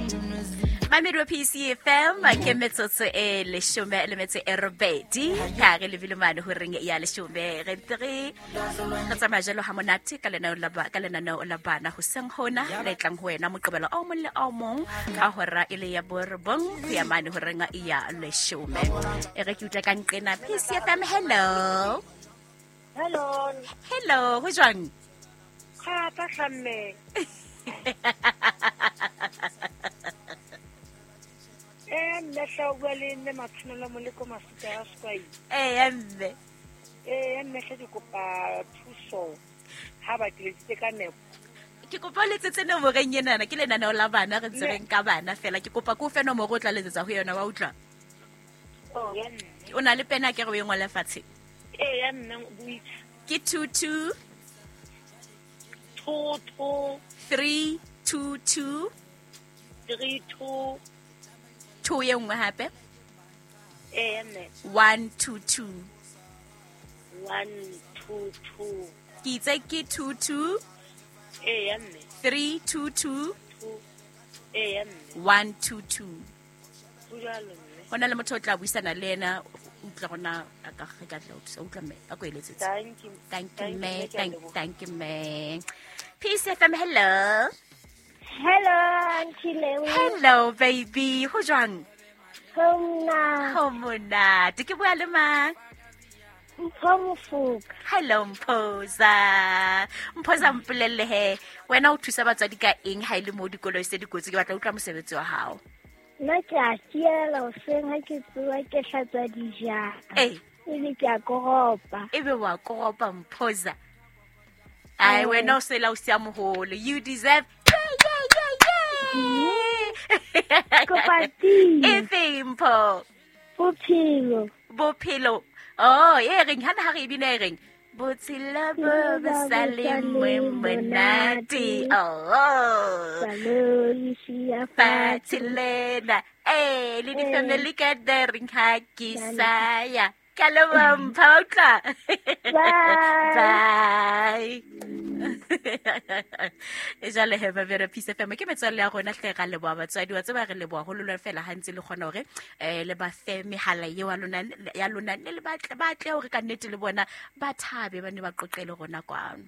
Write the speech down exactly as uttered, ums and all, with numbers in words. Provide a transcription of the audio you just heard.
Mamedi wa P C F M ke metsotso e leshome le metso e robedi ka re lebile mane ho reng ya leshome re re re tsamaya jalo ha monate ka lenaneo la ba ka lenaneo la bana hoseng hona le tlang ho wena Moqebelo o mong le o mong ka hora e le ya borobong ho ya mane ho reng ya leshome. E re ke utlwa ka nqena P C F M. Hello. Hello. Hello, ho jwang? Kga tla hlamme. Eh nna tla bua le nne Matshwanelo Moleko Masuka ya Skwai. Eh mme. Eh mme hle ke kopa thuso ha ba tletsitse ka nepo. Ke kopa letsetse nomoreng enana ke lenaneo la bana re ntse re nka bana fela ke kopa ko fe nomoro o tla letsetsa ho yona wa utlwa. Oh ya nne. O na le pena ke re o e ngole fatshe. Eh ya nne buitsa. Ke two two two two three two two three two two ye nngwe hape. Eh mme. one two two one two two. Ke itse ke two two Eh mme. three two two Eh mme. one two two. Ho jwalo mme. Hona le motho o tla buisana le yena utlwa rona a ka re ka tla o utlwa mme a ko eletsetse. Thank you. Thank you mme. Thank thank you mme. P C F M hello. Hello, Auntie Lewe. Hello, baby. Ho jwang? Ho mna. Ho monate. Ke bua le mang? Mpho Mofoka. Hello, Mphoza. Mphoza mpolelle he. Wena o thusa batswadi ka eng ha ile mo dikoloi se dikotsi? Ke batla utlwa mosebetsi wa hao. Nna ke a fiela hoseng ha ke tsoha ke hlatswa dijana. Eh. Ebe ke a koropa. Ebe wa koropa Mphoza. Ai wena o sela o sia moholo. You deserve. Kopa pina. E feng Mpho? Bophelo. Bophelo. Oh, e reng hana ha re bina e reng. Botshelo bo bo sa le monate. Oh. Saloli sia fatshe lena. Eh, le di family gathering ha ke saya. Ka leboha Mpho, utlwa. Bye. Bye. E jwale he ba bere Peace F M ke metswalle ya rona hle ra leboha batswadi wa tseba re leboha haholo lona fela ha ntse le kgona hore eh le ba fe mehala eo ya lona ya lona le batle batle hore ka nnete le bona ba thabe ba ne ba qoqele rona kwano.